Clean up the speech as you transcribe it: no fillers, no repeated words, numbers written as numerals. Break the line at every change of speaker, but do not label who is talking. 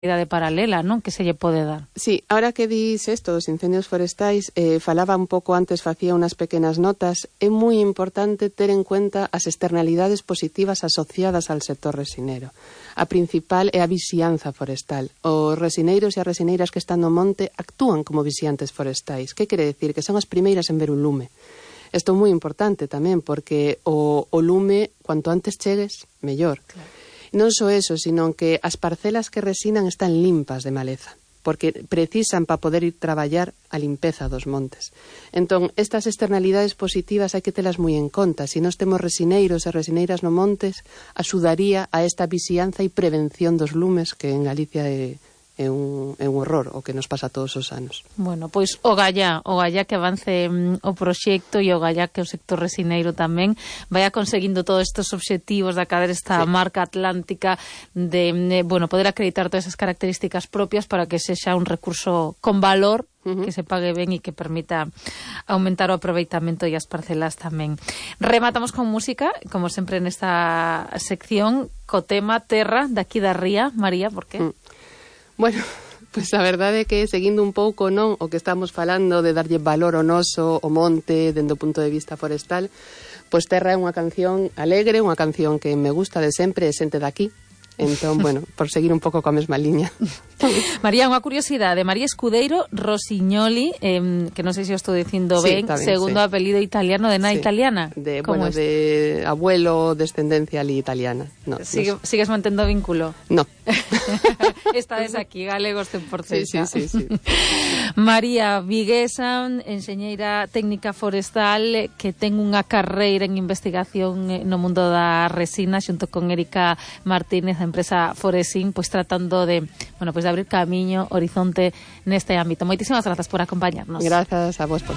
paralela, non? Que se lle pode dar.
Sí, ahora que dis esto dos incendios forestais, falaba un pouco antes, facía unas pequenas notas, é moi importante ter en cuenta as externalidades positivas asociadas al sector resinero. A principal é a vixianza forestal. Os resineiros e as resineiras que están no monte actúan como vixiantes forestais. Que quere decir? Que son as primeiras en ver un lume. Isto é moi importante tamén, porque o lume, cuanto antes chegues, mellor. Claro. Non só eso, sino que as parcelas que resinan están limpas de maleza, porque precisan para poder ir traballar a limpeza dos montes. Entón, estas externalidades positivas hai que telas moi en conta. Se nós temos resineiros e resineiras no montes, axudaría a esta vixianza e prevención dos lumes, que en Galicia é un horror o que nos pasa todos os anos.
Bueno, pois o gallá que avance o proxecto e o gallá que o sector resineiro tamén vaya conseguindo todos estes obxectivos de acabar esta marca atlántica de poder acreditar todas esas características propias para que sexa un recurso con valor, que se pague ben e que permita aumentar o aproveitamento e as parcelas tamén. Rematamos con música, como sempre nesta sección, co tema Terra, daqui da Ría. María, por que?
Bueno, pois a verdade é que seguindo un pouco o que estamos falando de darlle valor ao noso, o monte, dende o punto de vista forestal, pois Terra é unha canción alegre, unha canción que me gusta de sempre, é xente daqui. Entón, bueno, por seguir un pouco coa mesma liña.
María, unha curiosidade. María Escudeiro Rossignoli, que non sei se o estou dicindo ben, segundo apelido italiano de nai italiana.
De abuelo, descendencia ali italiana. No,
sigues mantendo vínculo?
No.
Estades aquí, galegos 100%.
Sí.
María viguesa, enxeñeira técnica forestal, que ten unha carreira en investigación no mundo da resina, xunto con Erika Martínez, a empresa Foresin, pois tratando de abrir camiño, horizonte neste ámbito. Moitísimas grazas por acompañarnos.
Grazas a vos por